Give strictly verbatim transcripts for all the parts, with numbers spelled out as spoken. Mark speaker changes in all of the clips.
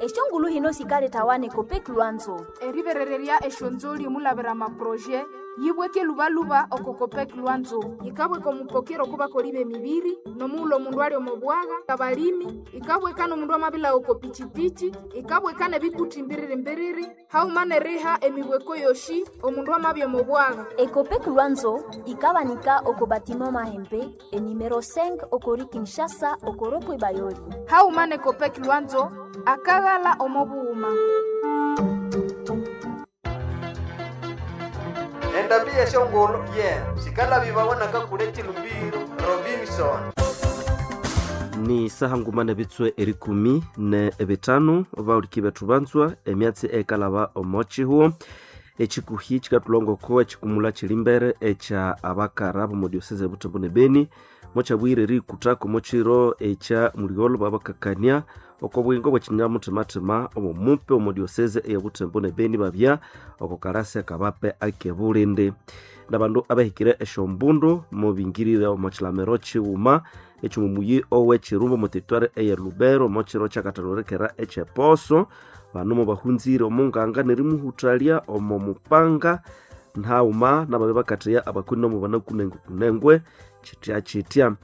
Speaker 1: Eshongulu hino sikaletawa ne Copec Lwanzo.
Speaker 2: Eriberererya eshonzoli omulabira amaproje yibweke lubaluba oko Copec Lwanzo. Yikabweka omupokero okubakoli b'emibiri n'omughulhu omundu ali omo bwagha, abalimi, ikabweka n'omundu amabilagha oko pichipichi, ikabweka n'ebikuthi mbiriri-mbiriri, haghuma n'eriha emibweko yoshi omundu amabya omo bwagha.
Speaker 1: Ecopec Lwanzo ikabanika oko batiment Mahembe enumero cinq okori Kinshasa okoropwe Bayoli.
Speaker 2: Haghuma ne Copec Lwanzo akaghala omo bughuma.
Speaker 3: Endambi yeshongolo ye sikalabibawa nakakule chilumbiro Robinson.
Speaker 4: Ni saha nguma ne bitswe erikumi ne ebitano bauliki bethu banzwa emyatsi ekalaba omochihuo echikuhi chikatulongoko echikumula chilimbere echa abakara bomu diocese ya Butembo ne Beni mochabwire erikutako mochiro echa muligholo babakakania oko bwingo bwechinyamuthimathima obomupe omu diocese eya Butembo ne Beni babya oko karasi akabape akebulindi nabandu abahikire esyombundu mubingirire omo chilamiro chighuma ekyomumuyi ow'echirumba omu territoire eye Lubero omo chiro kyakathalorekera eky'eposo bano mubahunzire omunganga nerimuhuthalya omo mupanga nhaghuma nababe bakatheya abakoni nomo banakunengwe kunengwe chitya chitya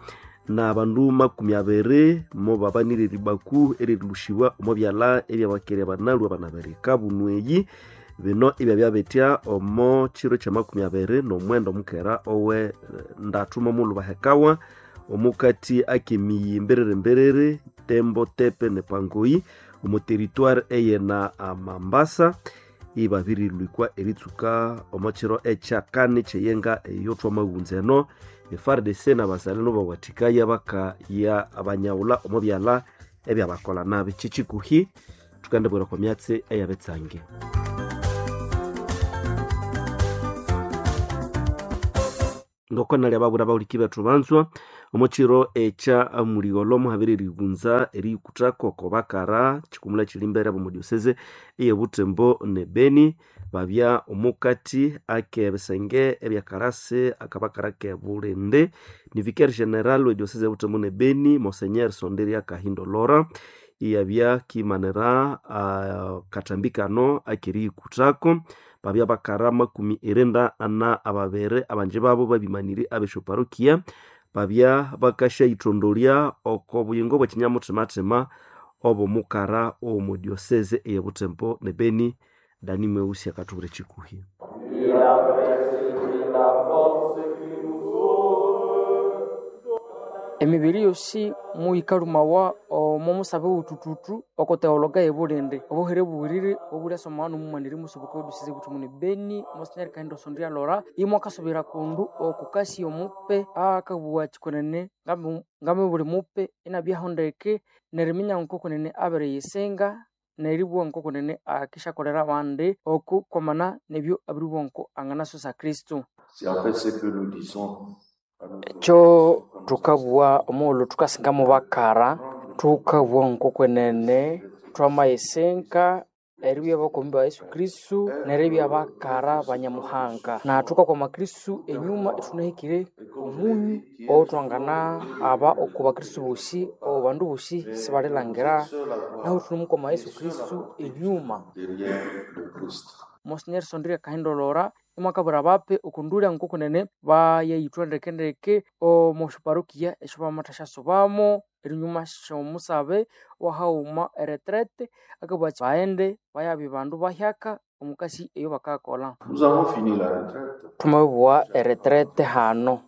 Speaker 4: na bandu makumi abiri mobabanire eribaku eririlhusiibwa omo byalha ebyabakerya banalwa banabirika bunweyi bino ibyabya omo chiro kya makumi abiri n'omwenda omukera owe ndathu momulhu bahekawa omukati akemiyi mbiriri mbiriri Tembo Tepe ne Pangoyi omu territoire eyena Mambasa ibabirilwikwa eritsuka omo chiro ekyakani kyeyenga eyothwa amaghunza eno e F A R D C n'abazalendo bawathikaya bakaya abanyaghulha omo byalha ebyabakola nabi. Kyikyikuhi thukandibwira okwa myatsi eyabitsange. Ngoko nalya babura bahuliki bethu banzwa omo chiro ekya muligholo muhabiri erighunza eriyikuthako oko bakara chikumula kili mbere abomu diocese eye Butembo ne Beni babya omukati akebisenge ebyakarasi akabakara kebulindi ni vicaire general we diocese ya Butembo ne Beni Monseigneur Sonderia Kahindo Lora iyabya kimanira uh, katambi kano akeriyikuthako babya bakara makumi irinda ana ababere abanji babo babimanire abesyoparokia babya bakasyayithondolya oko buyingo bwekinyamuthimathima obomukara owomu diocese eye Butembo ne Beni. Dani Mweusi akathubwira ekikuhi.
Speaker 5: Emibiri yosi muyikalumawa omo musabe wutututu oko teologa yebulindi obuhere buwirire obulyasoma nomumaniri musubuka wediosese Butembo ne Beni Monsignor Kahindo Sondia Lora imwe akasubira kundu okukasi omupe akabugha kyikunene ngame buli mupe inabyaho ndeke neriminya nkokunene abiriyisinga neribugha nkokunene akisyakolera abandi oku kwamana nebyo abiribugha nko anganasosa Kristo. Ekyo thukabugha omughulhu thukasinga mubakara thukabugha ngokwenene thwamayisinga eribya bakomi ba Yesu Kristo neribya bakara banyamuhanga na thukakwama Kristo enyuma ithunahikire omunyu owuthwangana aba oku bakristo bosi obandu bosi sibalilhangira nahu thunemukwama Yesu Kristo enyuma. Monsignor Sondria Kahindo Lora imwakabwira abape okundulya ngokunene bayayithwa ndekendeke omo syaparokia esyabamathasyasobamo erinyuma syomusabe wahaghuma eretrete akabugha athi baghende bayabya bandu bahyaka omukasi eyo bakakolha. Thwamabibugha eretrete hano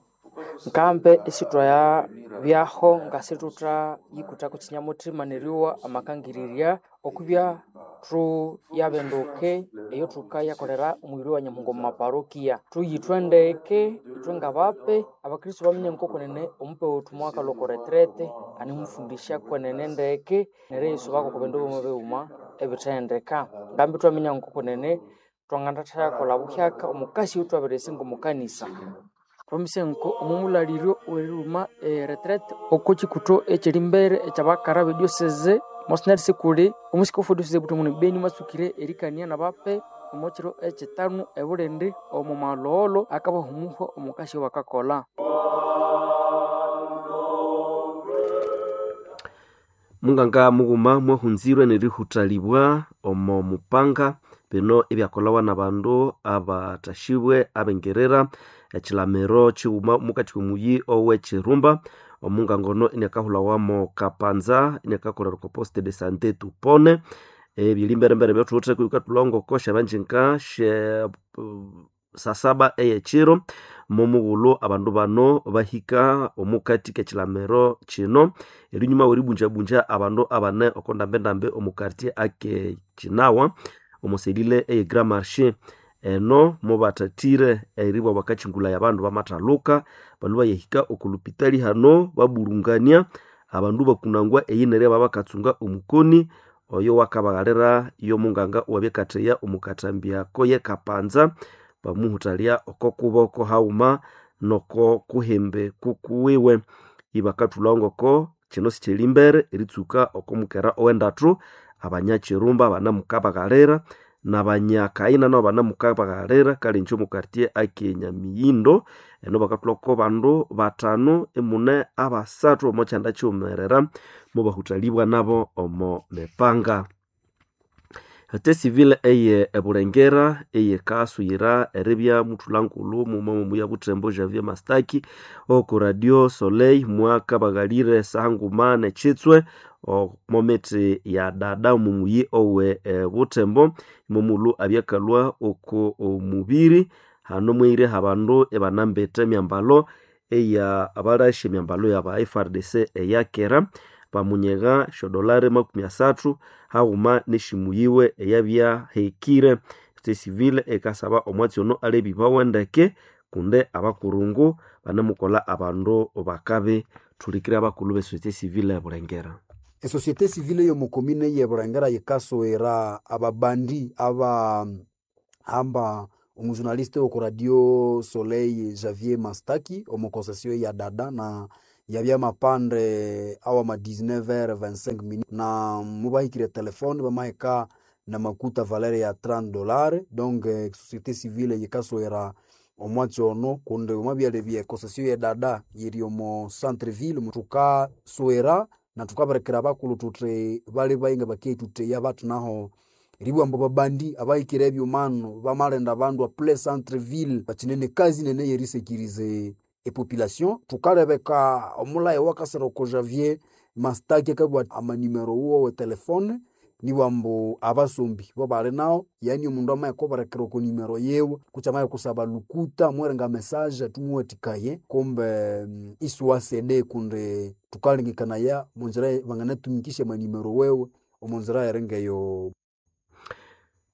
Speaker 5: nkambe isithwayabyaho ngasithuthayikuthako kyinyamuthima neryowa amakangirirya okwibya thuyabenduke eyo thukayakolera omubiri wa Nyamuhanga omu maparokia. Thuyithwe ndeke ithwe ngabape abakristo baminya ngokunene omupe wethu mwakalhwa oko retrete animufundisya kwenene ndeke neryo eriyisubako oko bindu bighuma bighuma ebithendeka. Ngambi ithwaminya ngokunene thwanganathayakolha buhyaka omukasi oyo thwabiriyisinga omu kanisa. Thwamise nko omumulaliryo weriruma eretrete oko kyikutho ekyerimbere ekyabakara bediosese Monsignor Sikuli omusikofu wediosese Butembo ne Beni mwatsukire erikania nabape omo kiro ekyitanu ebulindi omo malhogholho akabahumuhwa omukasi eyobakakolha.
Speaker 4: Munganga mughuma mwahunzirwe nerihutalibwa omo mupanga bino ebyakolawa nabandu abatashibwe abengerera ekilamiro kighuma mukati komuyi owekirumba. Omunganga ono iniakahulawamo Kapanza, iniakakolera oko poste de sante tupone. Ebyerimberembere ebyathuwitheko bikatulhangoko syabanjinga sye sasaba eyekiro momughulhu abandu bano bahika omukati kekilamiro kino erinyuma weribunjabunja abandu abane oko ndambendambe omu quartier ake Kinawa omo selile eye Grand Marché. Eno mobathathire eribwa bakakyingulaya abandu bamathaluka balwe bayahika oko lupitali hano baburungania abandu bakunangwa eyi neryo babakatsunga omukoni oyo wakabaghalira yomunganga owabya omu kathambya ako ye Kapanza bamuhuthalya oko kuboko haghuma noko kuhembe kukuwiwe. Ibakathulha ngoko kino sikyelimbere eritsuka oko mukera owendathu abanyakirumba banamukabaghalira nabanyakaina nabo banamukabaghalira kale ingye omu quartier ake Nyamiyindo. Eno bakathulhako bandu bathanu imune abasathu omo kyanda kyiwumerera mubahuthalibwa nabo omo mipanga. Ete civil eye Ebulengera eyikasuyira eribya muthulhangulhu mughuma mwomuya Buthembo Javier Mastaki oko Radio Soleil mwakabaghalire saha nguma nekyitswe omo mithi ya dada omu muyi owe Buthembo momughulhu abyakalhwa oko omubiri hano mwahire abandu ibanambite emyambalo eya abalasi emyambalo yaba F R D C eyakera bamunyegha esyodolari makumi asathu haghuma nesimu yiwe eyabyahekire. Ete civil ekasaba omwatsi ono alebibawe ndeke kundi abakurungu banemukolha abandu bakabi. Thulikire abakulhu be société civile ebulengera.
Speaker 6: Esociété civile yomu commune ye Bulengera yikasowera ababandi aba amba omujournaliste oko Radio Soleil Javier Mastaki omu concession ya dada na yabya mapande awama dix-neuf heures vingt-cinq minutes na mubahikire telefone bamahika na makuta valeur ya trente dollars. Donc société civile yikasowera omwatsi ono kundi omwabyalebya concession ye dada yiri omo centre ville thukasowera na thukabirekera abakulhu thuthi bali bayinga bakethutheya bathi naho eribughambu babandi abahikire ebyumano bamalinda abandu a plein centre ville bakinene kazi nene yerisekirize epopulation. Thukalebeka omulhayi owakasira oko Javier Mastaki akabugha amanimero wuwe we telefone nibughambu abasombi bobali nawo yani omundu amayikubirekera oko nimero yiwe kutse amayikusaba lukuta amuwere message athumuwathikaye kumbe isiwasede kundi thukalengekanaya omunzira banganatumikisya amanimero wewe omunzira eringeyo.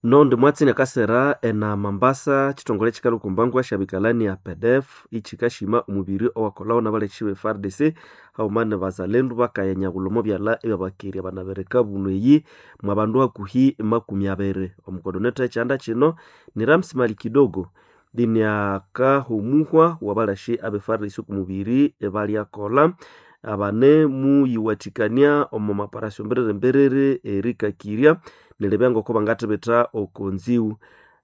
Speaker 4: Nondi mwatsi nakasera ena Mambasa chitongole chikalwa okwambangwa syabikalani ya P D F ichikashima omubiri owakolhawo nabalekyi be F A R D C haghuma ne bazalendu bakaya nyabulha omo byalha ebyabakerya banabereka buno eyi mwabandu hakuhi makumi abiri. Omukodoneta ekyanda kino ni Ramsi Mali Kidogo iniakahumuhwa wabalasi abe F A R D C okumubiri ebalyakolha abane muyiwathikania omo maparasyo mberere mberere erikakirya neribya ngoko bangathibitha oko nziwu.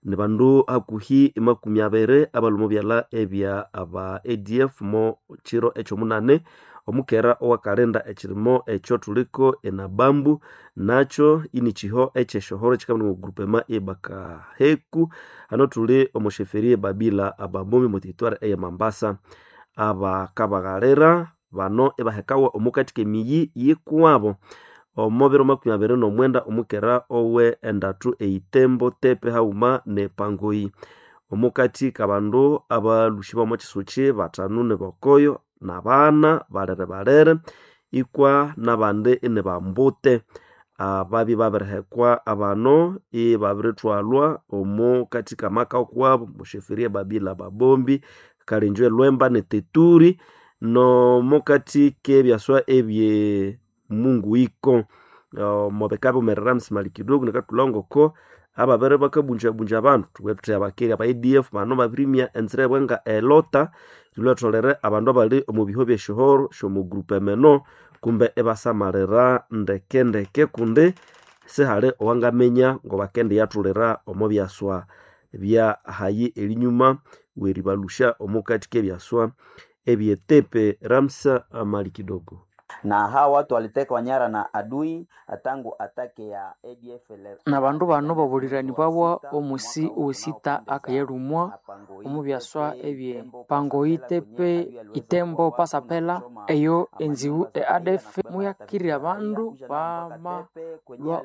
Speaker 4: Nibandu hakuhi makumi abiri abalhwa omo byalha ebya aba A D F mo kiro ekyomunani omukera owakalinda ekirimo ekyo thuliko enabambu nakyo inikiho ekyesyohoro ekikabana omu groupement ebakaheku hano thuli omo sheferi ebabila ababomi omo territoire eye Mambasa. Abakabaghalira bano ibahekawa omukati kemiyi yikuwabo omo biro makumi abiri nomwenda omukera owe endathu eitembo tepe haghuma nepangoyi. Omukati kabandu abalhusi bomo kyisukyi bathanu nibokoyo nabana balere balere ikwa nabandi inibambute ababya babirihekwa abano ibabirithwalwa omo kati kamaka okuwabo musheferi ebabila babombi kalinjo elwemba neteturi nomukati kebyaswa ebye Mungu iko omubika biwumerera Msimali Kidogo nikathulha ngoko ababere bakabunjabunja abandu thubughe thuthi abakeri aba A D F bano babirimya enzira yabo nga elota lhwatholere abandu abali omu biho byesyohoro syomu groupement eno kumbe ibasamalira ndeke ndeke kundi sihali owangaminya ngobakendiyathulira omo byaswa bya hayi erinyuma weribalhusya omukati kebyaswa ebyetepe. Ramsa Mali Kidogo.
Speaker 7: Na hawa watu walitekwa nyara na adui tangu atake ya A D F
Speaker 5: Na bandu bano babuliranibawa omusi owesita akayalumwa omu byaswa ebye Pangoitepe Itembo Pasapela eyo enziwu e A D F muyakirira abandu bamalwa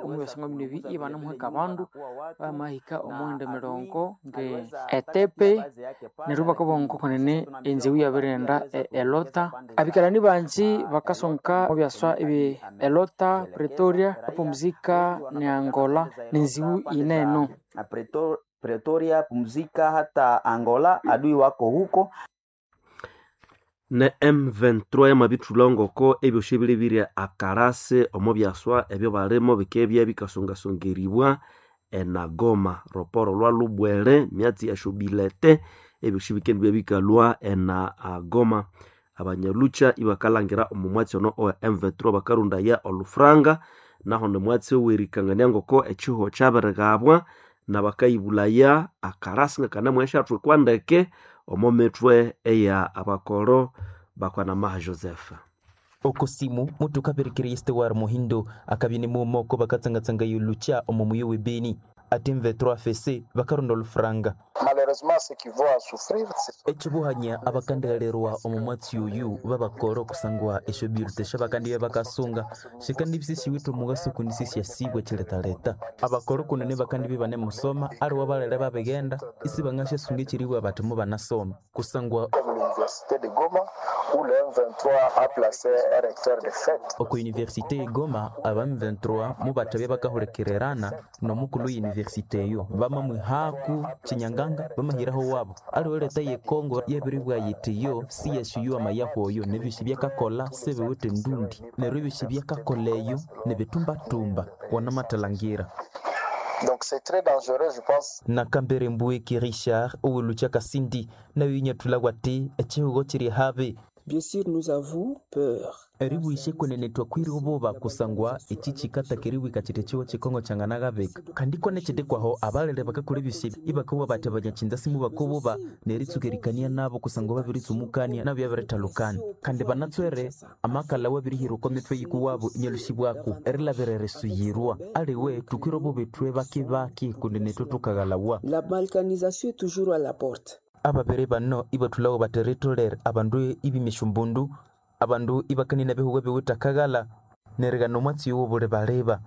Speaker 5: omu byaswa bino ebi ibanamuheka abandu bamahika omughenda emirongo nge Etepe neryo bakabugha ngokunene enziwu yabirighenda e Elota. Abikalani bangi bakasonka omu byaswa ebye Elota, Pretoria, Pumzika ne Angola nenziwu yineno.
Speaker 7: Pretoria, Pumzika hata Angola, adui wako huko.
Speaker 4: Ne M twenty-three yamabithulha ngoko ebyosi bilibirye akarasi omo byaswa ebyo balimo bikebya bikasongasongeribwa enagoma roporo lwa lubwere myatsi yashobilete ebyosi bikendibya bikalwa ena agoma. Abanyalucha ibakalangira omu mwatsi ono owa M twenty-three bakarundaya olufranga naho nomwatsi owerikangania ngoko ekiho kyabirigabwa nabakayibulaya akarasi ngakanamuheshathwikwa ndeke omo mithwe eya abakoro bakwanamaha Joseph.
Speaker 8: Okosimu mutu kapirikiri Estewar Muhindo akabini mumoko bakatsangatsanga yulucha omo muyo webeni ati M twenty-three F C bakaronda olufranga. Ekibuhanya abakandigalerwa omu mwatsi oyu babakoro kusangwa esyo birute syabakandibe bakasunga shikandibisi siwithe omugaso kundi sisyasibwa ekiletaleta. Abakoro kunene bakandibe banemusoma aliwe balere babigenda isi bangasyasunga ekiribwa bati mubanasoma kusangwa Oko université e Goma aba M twenty-three mubathabya bakahulikirerana nomukulu université eyo bamamwihaku Chinyanganga bamahiraho wabo aliwe leta ye Kongo yabiribwa yitiyo siyasuyuwa mayahu oyo nebyosi byakakola sebiwithe ndundi neryo ebyosi byakakola eyo nebitumbatumba wanamatalangira.
Speaker 9: Donc c'est très dangereux, je pense.
Speaker 8: Nakambere Mbueki Richard owelucha Kasindi nayo inyathula wati echihugo chiri habe.
Speaker 10: Bien sûr, nous avons peur.
Speaker 8: Eribwishe kwenene twakwire obuba kusangwa echi chikata keriwika chiti chiwo chikongo changanagabeka kandi kone chidikwaho abalele bakakula ebyosi ibakawa bati abanyachinza simu bakobuba neritsukerikania nabo kusangwa babiritsumukania nabo byabirithalukana kandi banatswere amakala wabirihiruka mitwe yikuwabo inyalushibwaku erilabirere aliwe tukwire obuba ithwe bakibaki kundi nithwe tukaghalawa.
Speaker 10: La balkanisation est toujours à la porte.
Speaker 8: Ababere bano ibathulawo bateritolere abandu ibimeshumbundu abandu ibakanina bihugo biwithakaghala nerigana omwatsi owo bulibaleba.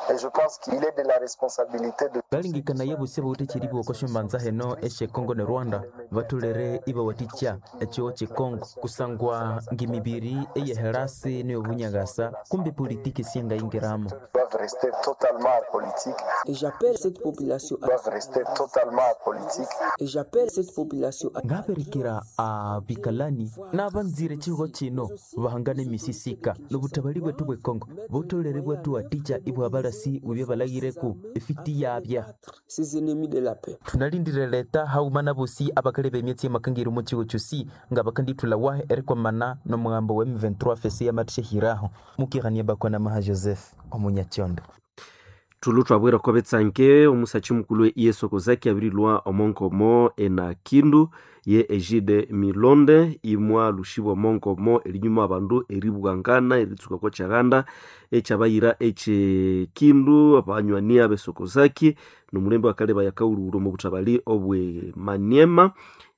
Speaker 9: Et je pense qu'il est de la responsabilité de
Speaker 8: balingikana bosi abawithe ekyiribwa oko syombanza heno esye Congo ne Rwanda batholere ibawathikya ekyiwo kye Congo kusangwa ng'emibiri eyeherasi neyobunyakasa kumbi politiki syangayingiramo.
Speaker 9: Doivent rester totalement apolitiques.
Speaker 10: Et j'appelle cette population à
Speaker 9: Doivent rester totalement apolitiques.
Speaker 10: Et j'appelle cette population à
Speaker 8: ngabirikira abikalani n'abanzire ekihugo kino bahangane emisisika n'obutabali bwethu bwe Congo butolere bwathuwathikya ibwabalasi bwebya balagireku efiti yabya.
Speaker 10: Ces ennemis de la paix.
Speaker 8: Tunalindire leta hauma nabosi abakaleba emyatsi y'amakangiri omu kigo kyosi nga bakandithula wahe erikwamana n'omugambo wa M twenty-three F C yamathyehiraho mukirania bakwana maha Joseph omunyakyondo.
Speaker 4: Tulu twabwira ko betsanke omusachi mukulu Yesu Kozaki abirilwa omonkomo ena Kindu ye Egide Milonde imwa lushibwa omonkomo erinyuma abandu eribwangana eritsuka ko kyaganda ekyabayira eche Kindu abanywani abesokozaki nomulembe wakaleba yakauluro mu butabali obwe Maniema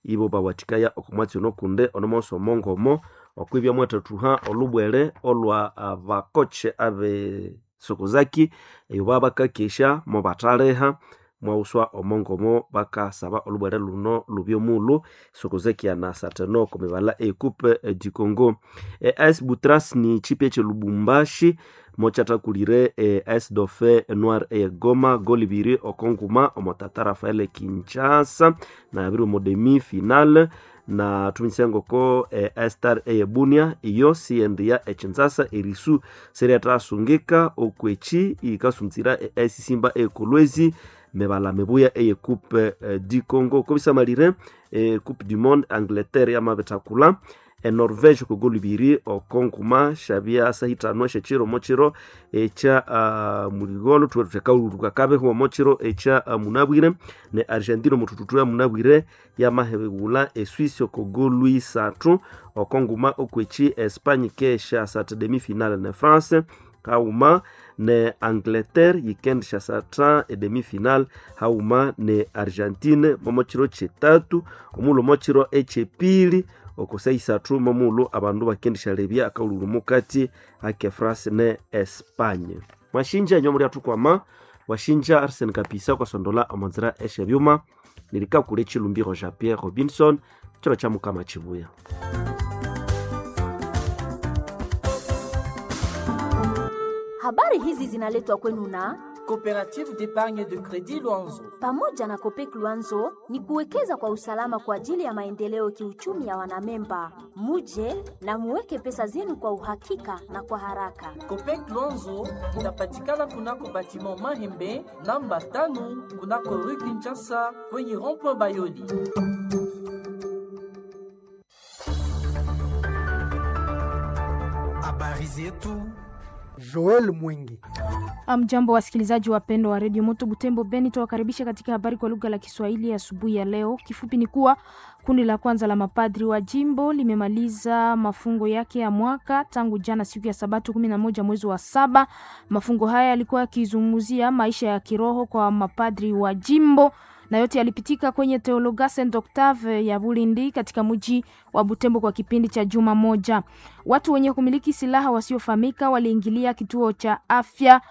Speaker 4: ibo bawatikaya okumwatsi onokunde onomonso omonkomo okwibya mwatathuha olubwere olwa abakoche abe sokozaki eyo babakakesha mobathaleha mwauswa omongomo bakasaba olubwere luno lubyomulo sokozaki anasateno komibala ekupe du Congo. E, A S Butras ni chipi eche Lubumbashi mochatakулire e, A S Dauphin Noir e Goma goli biri okonguma omotata Rafael Kinshasa na abiri omo demi final na tuminsengoko eh, Star eyebunia iyo siendia echinzasa erisu seriatasungika okwechi ikasunzira e, Simba ekolwezi mebala mebuya eye coupe eh, du Congo kobisamalire eh, coupe du monde Angleterre yamabitakula enorvege okogolo ibiri okonguma syabya sahitano esyekiro omokiro ekya uh, muligolo thuwe thuthi akaululu kakabeho omokiro ekya uh, munabwire ne argentina omuthuthutu ya munabwire yamahewula eswisi okogolo isathu okonguma okweki espanye kesyasatha demi finale ne france hauma ne angleterre yikendishyasatha edemi final hauma ne argentine momokiro kyetatu omulo omokiro ekyepili okosa isathu momulo abandu bakendishalebya akaululu mukati ake france ne espanye mwashinja enyo muri athukwama washinja arsen kapisa okasondola omonzira esyebyuma nirikakula echilumbiro jean pierre robinson chiro kya mukama chibuya.
Speaker 1: Habari hizi zinaletwa kwenu na
Speaker 11: Coopérative d'épargne de crédit Luanzo.
Speaker 1: Pamoja na Copec Luanzo ni kuwekeza kwa usalama kwa ajili ya maendeleo kiuchumi ya wanamemba. Muje na muweke pesa zenu kwa uhakika na kwa haraka.
Speaker 11: Copec Luanzo inapatikana kunako batiment Mahembe namba tano kunako rue Kinshasa kwenye rond-point Bayoli.
Speaker 12: Habari zetu Joel Mwingi.
Speaker 2: Mjambo wasikilizaji wapendwa wa redio Moto Butembo Beni, tuwakaribisha katika habari kwa lugha la Kiswahili asubuhi ya leo. Kifupi ni kuwa kundi la kwanza la mapadri wa jimbo limemaliza mafungo yake ya mwaka tangu jana siku ya Sabato kumi na moja mwezi wa saba. Mafungo haya yalikuwa yakizungumzia maisha ya kiroho kwa mapadri wa jimbo na yote yalipitika kwenye Teologa Saint Octave ya Bulindi katika mji wa Butembo kwa kipindi cha juma moja. Watu wenye kumiliki silaha wasiofahamika waliingilia kituo cha afya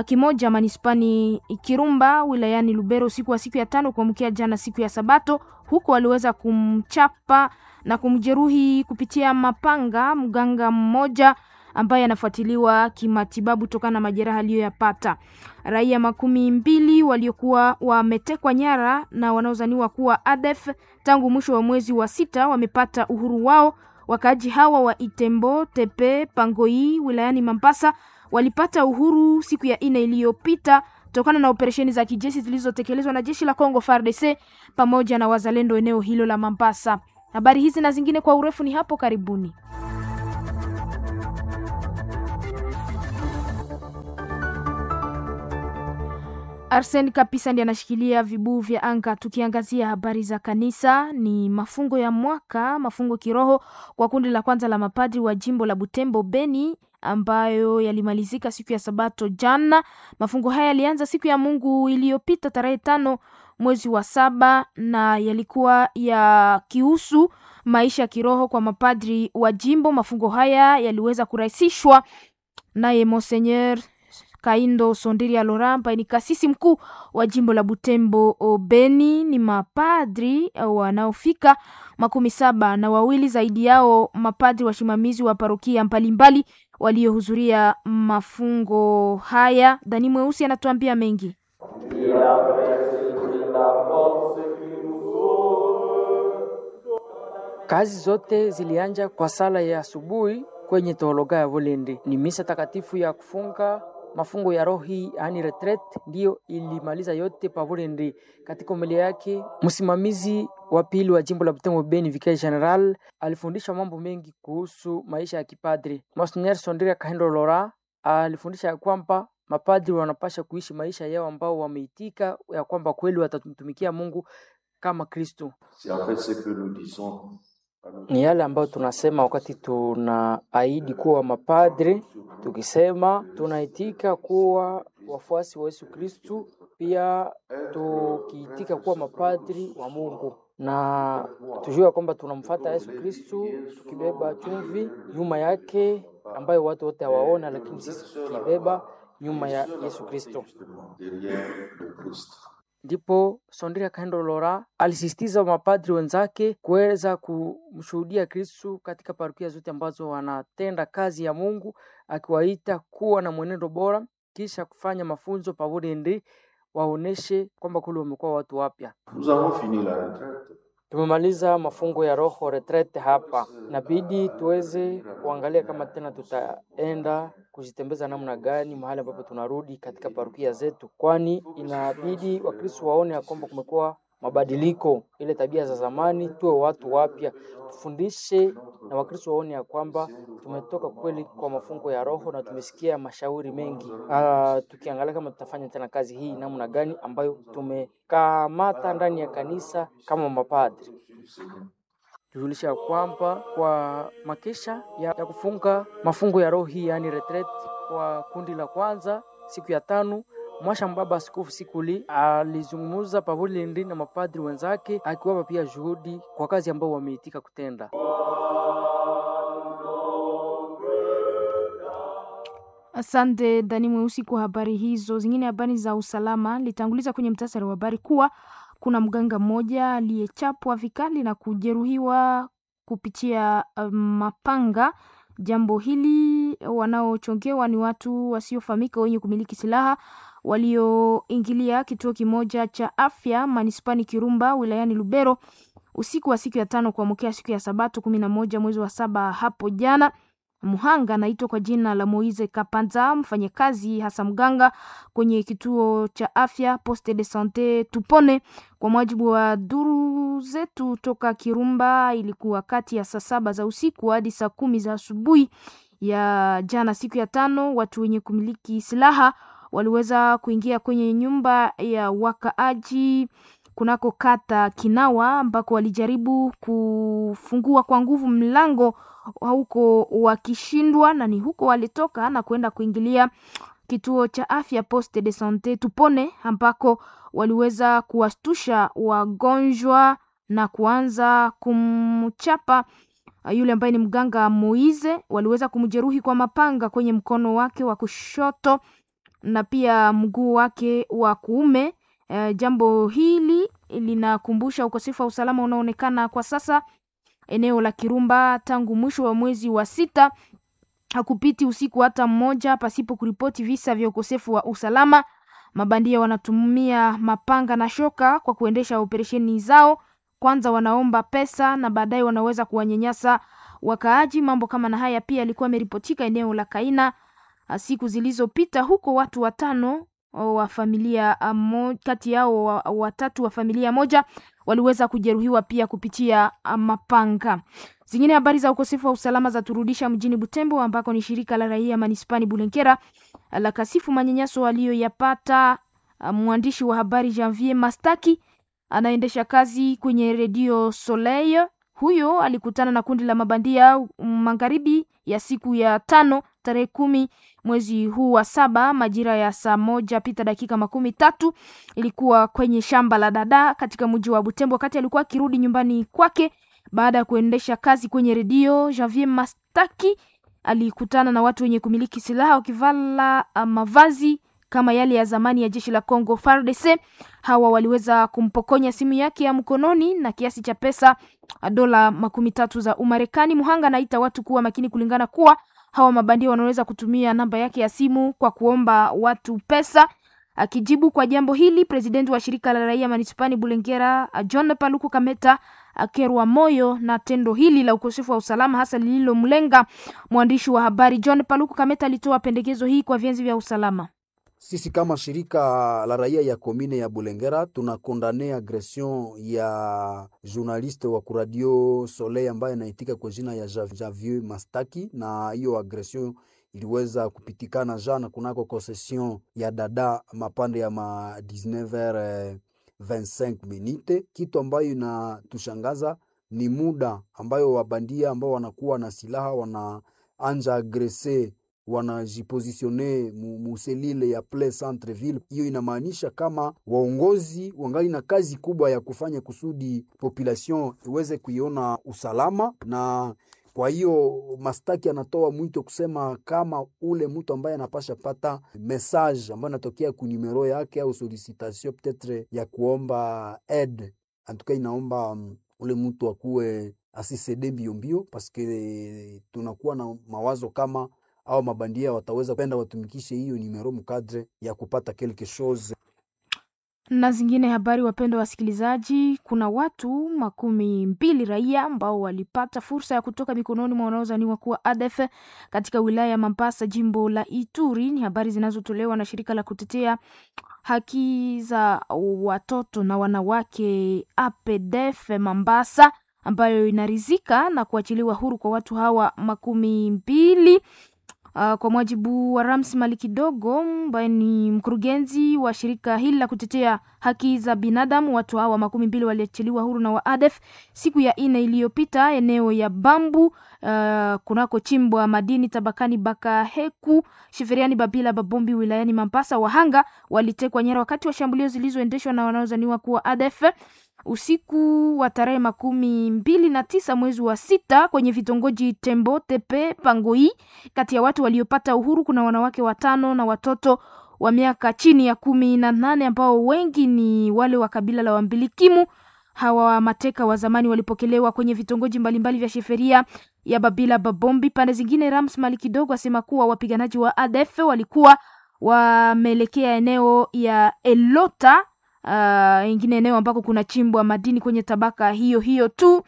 Speaker 2: kimoja manispani Kirumba wilayani Lubero usiku wa siku ya tano kuamkia jana siku ya Sabato. Huko waliweza kumchapa na kumjeruhi kupitia mapanga mganga mmoja ambaye anafuatiliwa kimatibabu kutokana na majeraha aliyoyapata. Raia makumi mbili waliokuwa wametekwa nyara na wanaozaniwa kuwa A D F tangu mwisho wa mwezi wa sita wamepata uhuru wao. Wakaaji hawa wa Itembo, Tepe, Pangoi wilayani Mambasa walipata uhuru siku ya nne iliyopita tokana na operesheni za kijeshi zilizotekelezwa na jeshi la Kongo F A R D C pamoja na wazalendo eneo hilo la Mambasa. Habari hizi na zingine kwa urefu ni hapo karibuni. Arsen Kapisa ndiye anashikilia vibuu vya anga. Tukiangazia habari za kanisa, ni mafungo ya mwaka, mafungo kiroho kwa kundi la kwanza la mapadri wa jimbo la Butembo Beni ambayo yalimalizika siku ya Sabato jana. Mafungo haya yalianza siku ya Mungu iliyopita tarehe tano mwezi wa saba na yalikuwa yakihusu maisha ya kiroho kwa mapadri wa jimbo. Mafungo haya yaliweza kurahisishwa naye Monseigneur Kaindo Sondiria Laurent ambaye ni kasisi mkuu wa jimbo la Butembo Beni. Ni mapadri wanaofika makumi saba na wawili, zaidi yao mapadri wasimamizi wa parokia mbalimbali waliohudhuria mafungo haya. Dani Mweusi anatuambia mengi.
Speaker 5: Kazi zote zilianja kwa sala ya asubuhi kwenye teologa ya Volende. Ni misa takatifu ya kufunga mafungo ya rohi yaani retret ndiyo ilimaliza yote pavolende. Katika homilia yake, msimamizi wa pili wa jimbo la Butembo Beni, Vicaire General, alifundisha mambo mengi kuhusu maisha ya kipadri. Monsignor Sondria Kahendo Lora alifundisha ya kwamba mapadri wanapasha kuishi maisha yao ambao wameitika ya kwamba kweli watamtumikia Mungu kama Kristo. Ni yale ambayo tunasema wakati tunaahidi kuwa mapadri, tukisema tunaitika kuwa wafuasi wa Yesu Kristu, pia tukiitika kuwa mapadri wa Mungu na tujue kwamba tunamfata Yesu Kristu tukibeba chumvi nyuma yake ambayo watu wote hawaona, lakini sisi tukibeba nyuma ya Yesu Kristo. Ndipo Sondria Kahendo Lora alisisitiza mapadri wenzake kuweza kumshuhudia Kristu katika parokia zote ambazo wanatenda kazi ya Mungu, akiwaita kuwa na mwenendo bora, kisha kufanya mafunzo pamoja ndi waoneshe kwamba kule wamekuwa watu wapya. Tumemaliza mafungo ya roho retrete hapa, inabidi tuweze kuangalia kama tena tutaenda kujitembeza namna gani mahali ambapo tunarudi katika parokia zetu, kwani inabidi Wakristo waone ya kwamba kumekuwa mabadiliko, ile tabia za zamani, tuwe watu wapya. Tufundishe na Wakristo waone ya kwamba tumetoka kweli kwa mafungo ya Roho na tumesikia mashauri mengi. Ah, tukiangalia kama tutafanya tena kazi hii namna gani ambayo tumekamata ndani ya kanisa kama mapadri tujulisha ya kwamba kwa makesha ya, ya kufunga mafungo ya roho hii yaani retreat kwa kundi la kwanza siku ya tano Mwasha Mbaba Askofu Sikuli alizungumza pavulindi na mapadri wenzake akiwapa pia juhudi kwa kazi ambayo wameitika kutenda.
Speaker 2: Asante Dani Mweusi kwa habari hizo. Zingine habari za usalama, litanguliza kwenye mtasari wa habari kuwa kuna mganga mmoja aliyechapwa vikali na kujeruhiwa kupitia um, mapanga. Jambo hili wanaochongewa ni watu wasiofahamika wenye kumiliki silaha walioingilia kituo kimoja cha afya manispani Kirumba wilayani Lubero usiku wa siku ya tano kuamkia siku ya Sabato kumi na moja mwezi wa saba hapo jana. Muhanga anaitwa kwa jina la Moise Kapanza, mfanyakazi hasa mganga kwenye kituo cha afya Poste de Sante Tupone. Kwa mujibu wa duru zetu toka Kirumba, ilikuwa kati ya saa saba za usiku hadi saa kumi za asubuhi ya jana, siku ya tano, watu wenye kumiliki silaha waliweza kuingia kwenye nyumba ya wakaaji kunako kata Kinawa ambako walijaribu kufungua kwa nguvu mlango huko wakishindwa, na ni huko walitoka na kwenda kuingilia kituo cha afya Poste de Sante Tupone ambako waliweza kuwastusha wagonjwa na kuanza kumchapa yule ambaye ni mganga Moize. Waliweza kumjeruhi kwa mapanga kwenye mkono wake wa kushoto na pia mguu wake wa kuume. E, jambo hili linakumbusha ukosefu wa usalama unaoonekana kwa sasa eneo la Kirumba tangu mwisho wa mwezi wa sita. Hakupiti usiku hata mmoja pasipo kuripoti visa vya ukosefu wa usalama. Mabandia wanatumia mapanga na shoka kwa kuendesha operesheni zao. Kwanza wanaomba pesa na baadaye wanaweza kuwanyanyasa wakaaji. Mambo kama na haya pia yalikuwa yameripotika eneo la Kaina siku zilizopita, huko watu watano wa familia mo, kati yao watatu wa familia moja waliweza kujeruhiwa pia kupitia mapanga. Zingine habari za ukosefu wa usalama za turudisha mjini Butembo ambako ni shirika la raia manispani Bulenkera la kasifu manyanyaso aliyoyapata mwandishi wa habari Janvier Mastaki anaendesha kazi kwenye redio Soleil. Huyo alikutana na kundi la mabandia magharibi ya siku ya tano tarehe kumi mwezi huu wa saba majira ya saa moja pita dakika makumi tatu ilikuwa kwenye shamba la dada katika mji wa Butembo, wakati alikuwa akirudi nyumbani kwake baada ya kuendesha kazi kwenye redio. Javier Mastaki alikutana na watu wenye kumiliki silaha wakivala mavazi kama yale ya zamani ya jeshi la Congo F A R D C. Hawa waliweza kumpokonya simu yake ya mkononi na kiasi cha pesa dola makumi tatu za Umarekani. Muhanga anaita watu kuwa makini kulingana kuwa hawa mabandia wanaweza kutumia namba yake ya simu kwa kuomba watu pesa. Akijibu kwa jambo hili, presidenti wa shirika la raia manispani Bulengera John Paluku Kameta akerwa moyo na tendo hili la ukosefu wa usalama hasa lililomlenga mwandishi wa habari John Paluku Kameta. Alitoa pendekezo hii kwa vyanzi vya usalama.
Speaker 6: Sisi kama shirika la raia ya komine ya Bulengera tunakondane agression ya journaliste wa kuradio Soleil ambaye anaitika kwa jina ya Javier Mastaki, na hiyo agression iliweza kupitikana jana kunako concession ya dada mapande ya ma dix-neuf heures vingt-cinq minute. Kitu ambayo inatushangaza ni muda ambayo wabandia ambao wanakuwa na silaha wanaanja agrese wanajipositione muselile ya ple centre ville. Hiyo inamaanisha kama waongozi wangali na kazi kubwa ya kufanya kusudi population iweze kuiona usalama. Na kwa hiyo Mastaki anatoa mwito kusema kama ule mtu ambaye anapasha pata message ambayo anatokea ku numero yake au solicitation peut-etre ya kuomba aide, antuka inaomba um, ule mtu akuwe asisede mbio mbio, paske tunakuwa na mawazo kama au mabandia wataweza penda watumikishe hiyo numero mukadre ya kupata quelque chose.
Speaker 2: Na zingine habari, wapendwa wasikilizaji, kuna watu makumi mbili raia ambao walipata fursa ya kutoka mikononi mwa wanaozaniwa kuwa A D F katika wilaya ya Mambasa, jimbo la Ituri. Ni habari zinazotolewa na shirika la kutetea haki za watoto na wanawake A P D F Mambasa, ambayo inarizika na kuachiliwa huru kwa watu hawa makumi mbili. Uh, kwa mujibu wa Rams Malikidogo ambaye ni mkurugenzi wa shirika hili la kutetea haki za binadamu, watu hawa makumi mbili waliachiliwa huru na wa A D F siku ya nne iliyopita eneo ya Bambu, uh, kunako chimbwa madini tabakani Bakaheku Sheferiani Babila Babombi wilayani Mambasa. Wahanga walitekwa nyara wakati wa shambulio zilizoendeshwa na wanaozaniwa kuwa A D F usiku wa tarehe makumi mbili na tisa mwezi wa sita kwenye vitongoji Tembo Tepe Pangoi. Kati ya watu waliopata uhuru kuna wanawake watano na watoto wa miaka chini ya kumi na nane ambao wengi ni wale wa kabila la Wambilikimu. Hawa mateka wa zamani walipokelewa kwenye vitongoji mbalimbali vya sheferia ya Babila Babombi. Pande zingine, Rams Malikidogo asema kuwa wapiganaji wa A D F walikuwa wameelekea eneo ya Elota, Uh, ingine eneo ambako kuna chimbwa madini kwenye tabaka hiyo hiyo tu. Uh,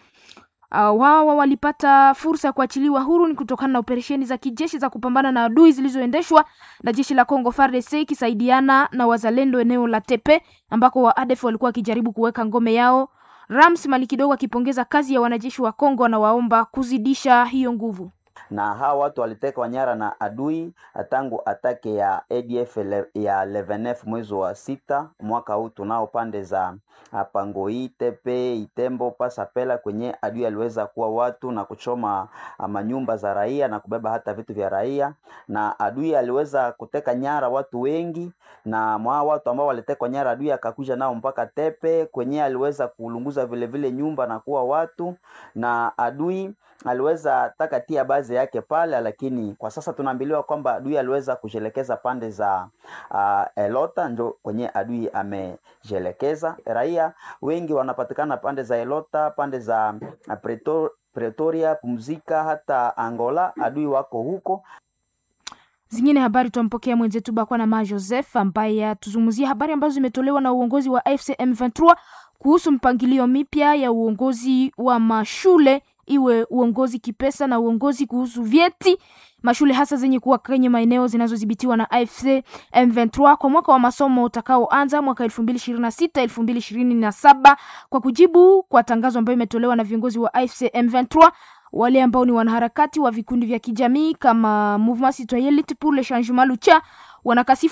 Speaker 2: wawa walipata fursa ya kuachiliwa huru ni kutokana na operesheni za kijeshi za kupambana na adui zilizoendeshwa na jeshi la Congo F A R D C ikisaidiana na wazalendo eneo la Tepe ambako wa A D F walikuwa wakijaribu kuweka ngome yao. Rams Malikidogo akipongeza kazi ya wanajeshi wa Congo na waomba kuzidisha hiyo nguvu.
Speaker 7: Na hawa watu walitekwa nyara na adui tangu atake ya A D F le, ya eleven mwezi wa sita mwaka huu. Tunao pande za Pangoi, Tepe, Itembo, Pasapela kwenye adui aliweza kuwa watu na kuchoma manyumba za raia na kubeba hata vitu vya raia, na adui aliweza kuteka nyara watu wengi, na mwa watu ambao walitekwa nyara adui akakuja nao mpaka Tepe kwenye aliweza kulunguza vile vile nyumba na kuwa watu, na adui aliweza taka tia baadhi yake pale, lakini kwa sasa tunaambiliwa kwamba adui aliweza kujelekeza pande za uh, Elota, ndio kwenye adui amejelekeza. Raia wengi wanapatikana pande za Elota, pande za Pretor, Pretoria, Pumzika, hata Angola, adui wako huko.
Speaker 2: Zingine habari twampokea mwenzetu Bakwa na Ma Joseph ambaye atuzungumzia habari ambazo zimetolewa na uongozi wa F C M ishirini na tatu kuhusu mpangilio mipya ya uongozi wa mashule, iwe uongozi kipesa na uongozi kuhusu vyeti mashule hasa zenye kuwa kwenye maeneo zinazodhibitiwa na A F C M ishirini na tatu kwa mwaka wa masomo utakaoanza mwaka elfu mbili ishirini na sita elfu mbili ishirini na saba, kwa kujibu kwa tangazo ambayo imetolewa na viongozi wa A F C M ishirini na tatu. Wale ambao ni wanaharakati wa vikundi vya kijamii kama Mouvement Citoyen Lutte pour le Changement Lucha wanakasifu